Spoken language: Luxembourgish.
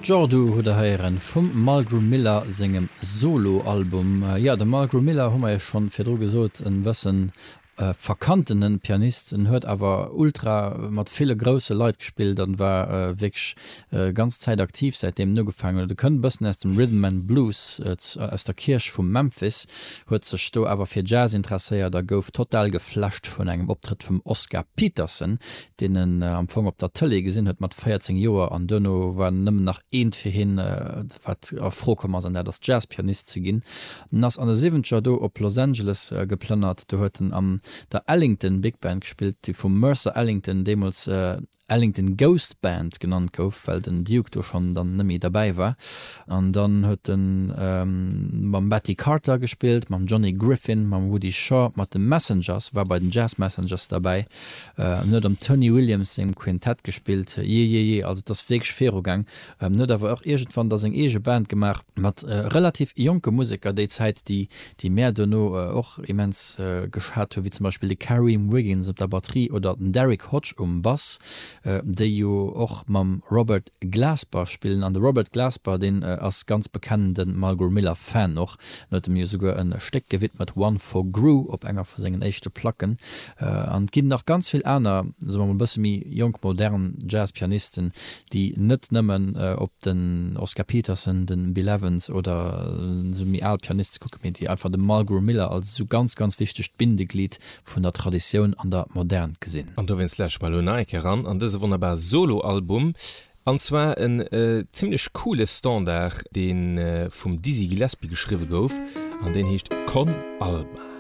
Jordu hutt der héieren vum Mulgrew Miller sengem Solo-Album. Jo, de Mulgrew Miller, hu mer jo schonn virdru gesot, en bëssen verkanntenen Pianist. En huet awer ultra mat ville grousse Leit gespillt an war wierklech ganz Zäit aktiv säitdeem en ugefaangen huet. E kënnt e bëssen aus dem Rhythm and Blues, aus der Kierch vu Memphis, huet sech do awer fir Jazz interesséiert a gouf total geflasht vun engem Optrëtt vum Oscar Peterson, deen en am Fong op der Tëlee gesinn huet mat 14 Joer an duerno war nëmmen nach eent fir hien, wat a Fro komm ass, an dat ass Jazzpianist ze ginn. En ass an de Siwwenzeger do op Los Angeles geplënnert. Do huet en an der Ellington Big Band gespillt, déi vum Mercer Ellington deemools Ellington Ghost Band genannt gouf, well den Duke do schonn dann net méi derbäi war. An dann huet en mam Betty Carter gespillt, mam Johnny Griffin, mam Woody Shaw, mat de Messengers, war bei den Jazz Messengers derbäi. En huet am Tony Williams sengem Quintett gespillt. Jee, jee, jee, also et ass wierklech virugaang. En huet awer och iergendwann da seng eege Band gemaach mat relativ jonke Museker déi Zäit, déi, déi mär duerno och immens geschat hunn, wéi zum Beispill de Kareem Wiggins op der Batterie oder den Derrick Hodge um Bass, déi jo och mam Robert Glasper spillen. An de Robert Glasper, deen ass ganz bekennende Mulgrew Miller Fan och. En huet em jo souguer e Stéck gewidmet, One for Gru, op enger vu sengen éischte Placken. An et ginn nach ganz vill aner, soe mer mol e bësse méi jonk, modern Jazz-Pianisten, déi net nëmmen op den Oscar Peterson, de Bill Evans oder esou méi al Pianiste kucken, mee déi einfach de Mulgrew Miller als esou ganz, ganz wichtegt Bindeglied vun der Traditioun an der Modern gesinn. An dowéinst lauschtert mer elo nach eng Kéier eran an dëse wonnerbare Solo-Album. An zwar en zimlech coole Standard, dee vum Dizzy Gillespie geschriwwe gouf an deen heescht Con Alma.